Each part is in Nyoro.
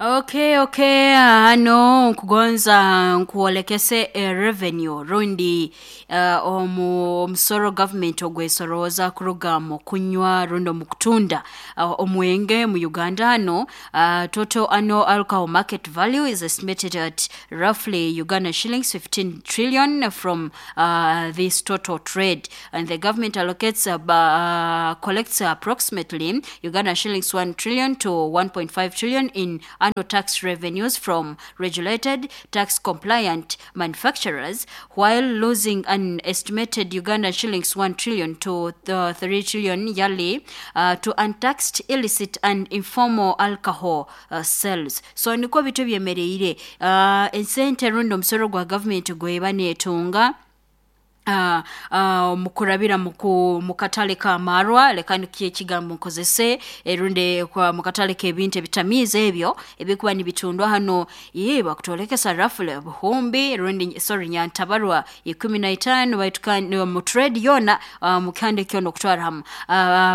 Okay, okay, hano nkugonza nkuolekese revenue rundi omu omusoro government ogwesorooza kuruga mu kunywa rundi omu kutunda omwenge mu Uganda hano. Total annual alcohol market value is estimated at roughly Uganda shillings 15 trillion from this total trade, and the government allocates collects approximately Uganda shillings 1 trillion to 1.5 trillion in annual tax revenues from regulated tax compliant manufacturers, while losing an estimated Uganda shillings 1 trillion to 3 trillion yearly to untaxed, illicit and informal alcohol sales. So nikwo bitu byemereire esente rundi omusoro gwa government gweba neetunga mukurabira mu katale k'amarwa, leka nikyo ekigambo nkozese, rundi mu katale k'ebintu ebitamiiza ebyo ebikuba nibitundwa hanu, bakutwolekesa roughly obuhumbi rundi, sorry, nyantabarwa 15, baitu kandi mu trade yoona, mu kihanda kyona okutwara hamu,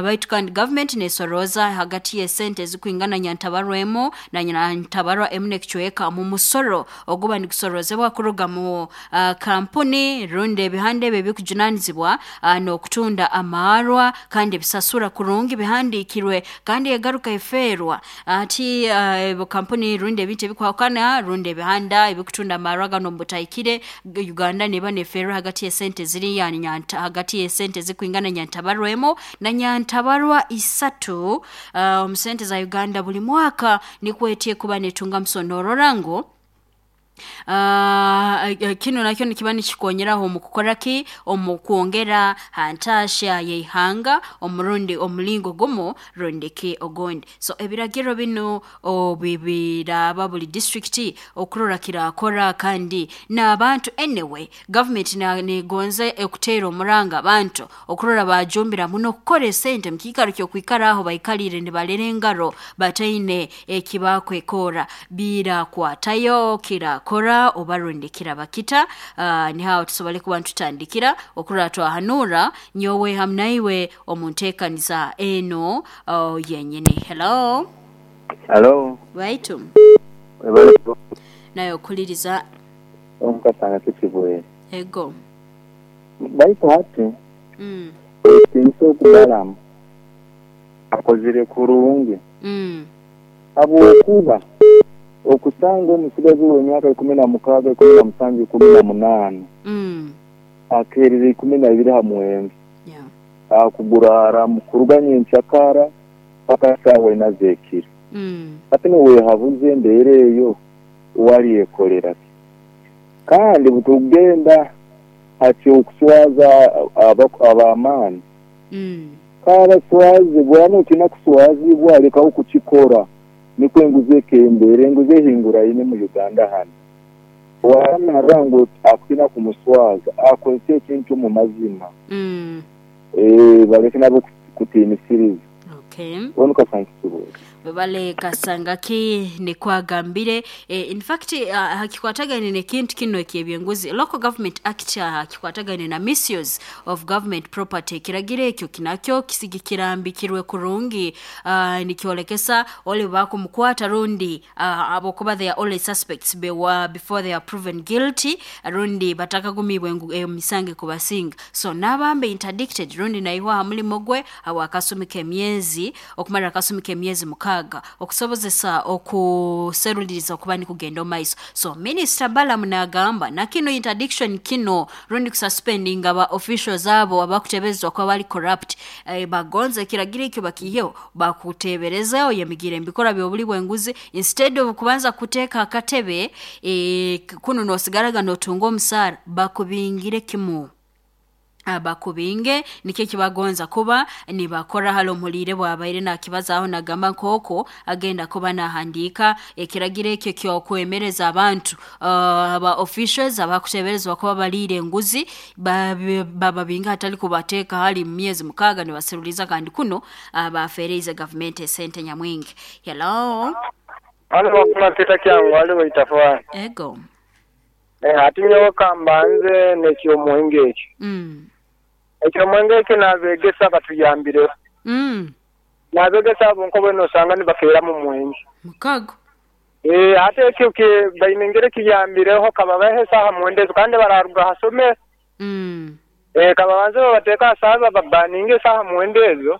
baitu kandi government neesorooza hagati y'esente ezikwingana nyantabarwa emu na nyantabarwa emu n'ekicweka mu musoro oguba nigusoroozebwa kuruga mu kampuni rundi ebihanda ebi ebikujunaanizibwa n'okutunda amaarwa, kandi bisasura kurungi, bihandiikirwe, kandi egaruka efeerwa ati kampuni rundi ebintu ebikwahukana rundi ebihanda ebikutunda amaarwa ganu omu butahikire, Uganda neeba neefeerwa hagati y'esente ziriya hagati y'esente ezikwingana nyantabarwa emu na nyantabarwa 3 omu sente za Uganda buli mwaka, nikwo eti ekuba neetungamu. So noorora ngu kinu nakyo nikiba nikikonyeraho omu kukora ki, omu kwongera ha ntaahya y'ihanga omurundi omulingo gumu rundi ki ogundi. So ebiragiro binu obu biraaba buli district okurora kiraakora, kandi n'abantu, anyway government neegonza ekuteera omuranga abantu okurora baajumbira muno kukora esente mu kiikaro ky'okwikara aho baikaliire nibarera engaro bataine eki baakwekorra. Birakwatayo, kirakora oba rundi kiraba kita? Niho aho tusobole kuba nitutandikira okurora twahanuura nyowe hamu naiwe omu nteekaniza enu yenyini. Hello. Halo. Baitu. Webale. Nawe okuliriza. Omukasanga tukibwere. Ego. Baitu hati ekintu okubalamu akozire kurungi habwokuba okusanga omusigazi ow'emyaka 16, 17, 18 akeerire 12 ha mwenge akugurara kuruga nyenkyakara paka saawa ina z'ekiro. Hati nowehabuza embeera eyo owalyekolera ki? Kandi butugenda ha ky'okuswaza ab'amaani, kabaswaze, bwaba notiina kuswazibwa lekaho kukikora nikwo enguzi ekendere. Enguzi ehinguraine mu Uganda hanu. Owaba ngu akutiina kumuswaza akozese ekintu mu mazima, baleke nabo kutiinisiriza. Onu kasankisibwe. Webale Kasangaki nikwo agambire. In fact hakikwatagaine n'ekintu kinu eky'ebyenguzi, Local Government Act, hakikwatagaine na misuse of government property. Ekiragiro ekyo kinakyo kirambikirwe kurungi, nikyolekesa oli bakumukwata rundi habwokuba they are always suspects before they are proven guilty, rundi batakagumiibwe ngu emisango ekubasinga, so naaba mbe interdicted rundi naihwa ha mulimo gwe habw'akasumi k'emyezi, okumara akasumi k'emyezi 6 okusobozesa okuseruliriza okuba nikugenda omu maiso. So Minisita Balaam naagamba na kinu interdiction kinu rundi kususpendinga ba officials abo abakuteeberezebwa kuba bali corrupt, bagonza ekiragiro ekyo bakiiheho, bakuteebereza oyemigiire mu bikorwa by'obuli bw'enguzi, instead of kubanza kuteeka akatebe, kunu noosigaraga nootunga omusaara, bakubingire kimu. Bakubinge nikyo ekibagonza kuba nibakora. Hali omuhuliire bwabaire naakibazaaho naagamba nk'oku agenda kuba naahandiika ekiragiro ekyo eky'okwemereza abantu aba officials abakuteeberezebwa kuba baliire enguzi, bababinga hatali kubateeka hali mu myezi 6 nibaseruliza, kandi kunu bafeereize gavumenti esente nyamwingi. Hello. Hano Wafula Peter Kyangu ali Waitafwani. Ego. Ati nyowe ka mbanze n'eky'omwenge ekyo. Eky'omwenge ekyo n'abeegesa batuyambireho. N'abeegesa abo nkobo eno osanga nibakeeramu mwenge. Mukago. Hati ekyo baine engeri kiyambireho kababahe esaaha 9 ezo kandi bararuga ha somero. Kababanze babateeke ha saaha bababaninge esaaha 9 ezo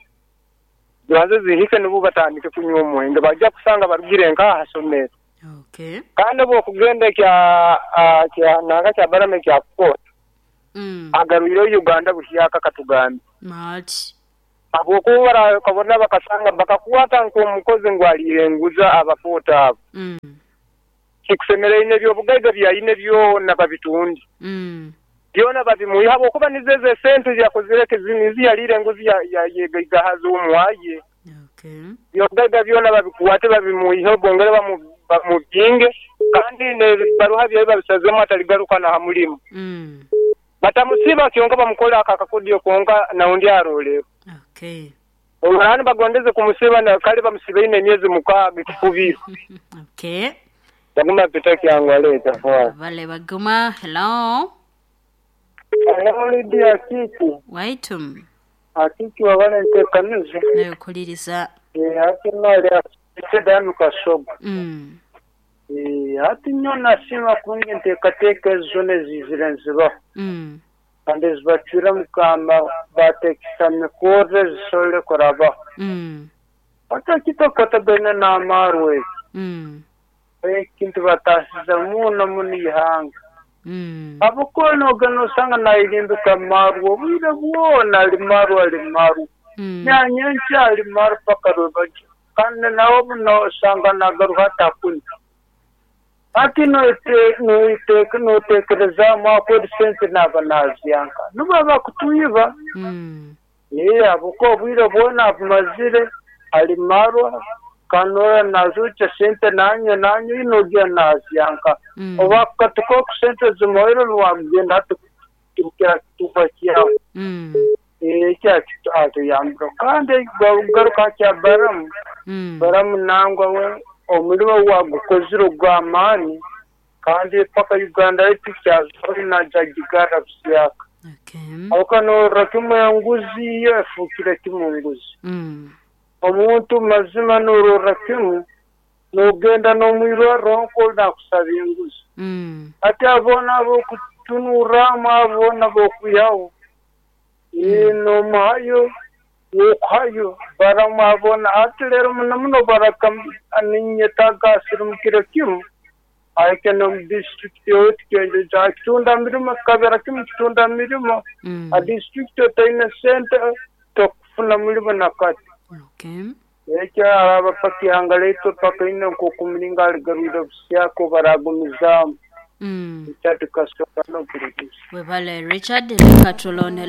zibanze zihike nubwo batandike kunywa omwenge, bajja kusanga barugire nkaha ha somero. Kandi obu okugenda ekya nanka kya Balamu ekya kukoota, agarwireho Uganda buhyaka katugambe. Habwokuba barakabona bakasanga bakakwata nk'omukozi ngu aliire enguzi abakoota abo. Kikusemeriire eby'obugaiga byayine byona babitunde. Byona babimuhe habwokuba nizo ezo esente yakozire nizo yaliire enguzi yegaigahaza omwaye. Eby'obugaiga byona babikwate babimuiheho bongere bamubinge kandi n'ebibaruha bye babisazemu ataligaruka na ha mulimo. Batamusiba kyonka bamukole ako akakodyo konka naundi arolerwe. Obu bagondeze kumusiba kale bamusibaine emyezi 6 ekifubiro. Baguma Peter Kyangwa aleeta fwani. Bale baguma. Hello. Hello Lydia Akiki. Waitu. Akiki wabale ntekanize. Nekuliriza. Hati nali Dami Kasoga. Hati nyo nasima kungi nteekateeka ezo zona ezizire nzibaho. Kandi ezibacwire mukama bateekesa mikorre zisobole kurabaho. Hati ekitakwatagaine n'amaarwa eki. Ekintu batasiza muno muno ihanga. Habwokuba noogenda nosanga naayirimbika marwa obwire bwona ali marwa ali marwa. Nyanyenkya ali marwa paka rwebagyo. Kandi nawe nosanga nagaruka hati. Hati noteekerezaamu akweri sente naaba naazyanka. Nubwo bakutwiba. Habwokuba obwire bwona abumazire ali marwa kanora nazucha sente nanywe inogira nazyanka. Oba katuka ku sente zimuhaire niwagenda hati kukira kituba kyawe. Ekyo atuyambire. Kandi garuka kya Balamu. Balamu nangwa we omulimo gwagukozire ogw'amaani kandi paka Uganda yaitu kyazora najagigara busyaka. Habwokuba norora kimu enguzi yo efuukire kimu nguzi. Omuntu mazima norora kimu nogenda n'omwirwarro nko nakusaba enguzi. Hati aboona ab'okutunurramu aboona b'okwihaho nomuhayo wokuhayo Balamu abona hati leero muno muno baraka ninyetaaga asirimukire kimu ahike n'omu disitulikiti yoitu kitunda mirimo kikabera kimu kitunda mirimo a disitulikiti otaine sente tokufuna mulimo nakati. Ekyo araba paka ihanga lyaitu paka ine nk'okumulinga aligarwire busyaka baragumizaamu. Richard Kasoga n'okuligiza. Webale Richard leka tulonde.